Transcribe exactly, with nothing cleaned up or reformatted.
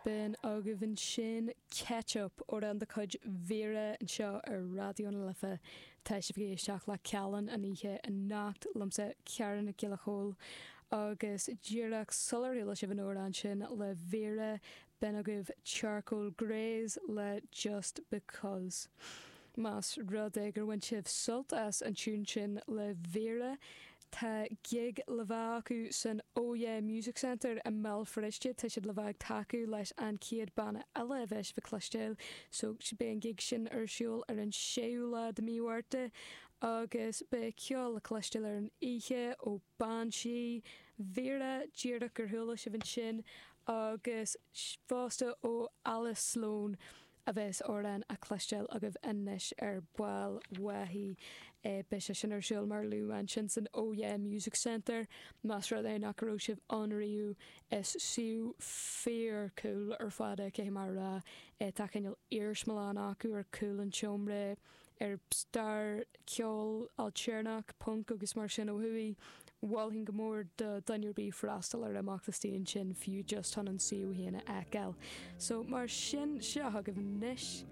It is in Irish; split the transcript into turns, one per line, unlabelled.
B'in agaibh ansin Ketchup, amhrán de chuid Vera anseo ar Raidió na Life. Tá sibh ag éisteacht le Callán an oíche anocht liomsa Ciara Nic Giolla Chóill agus díreach sular chuala sibh an amhrán sin le Vera b'in agaibh Charcoal Greys le Just Because. Más rud é gur bhain sibh sult as an tiún sin le Vera, Tá gig le bheith acu san Oh Yeah Music Centre i mBéal Feirste tá siad le bheith ag tacú leis an chéad banna eile a bheidh sibh ag cloisteáil so beidh an gig sin ar siúl ar an séú lá de mí Mhárta agus beidh ceol le cloisteáil ar an oíche ó Banshee, Vera díreach gur chuala sibh ansin agus fosta ó Alice Sloane. a bheas amhrán á chloisteáil agaibh anois ar ball uaithi. Beidh sé sin ar siúl mar a luadh ansin san Oh Yeah Music Centre. Más rud é nach raibh sibh ann riamh, is suíomh fíor cool ar fad é caithfidh mé a rá. Tá cineál iarsmalann acu ar chúl an tseomra ar stair ceol ailtéarnach, punk agus mar sin ó thuaidh. Mholfainn go mór do dhuine ar bith freastal ar imeacht istigh ansin fiú just chun an suíomh féin a fheiceáil. So mar sin seo agaibh anois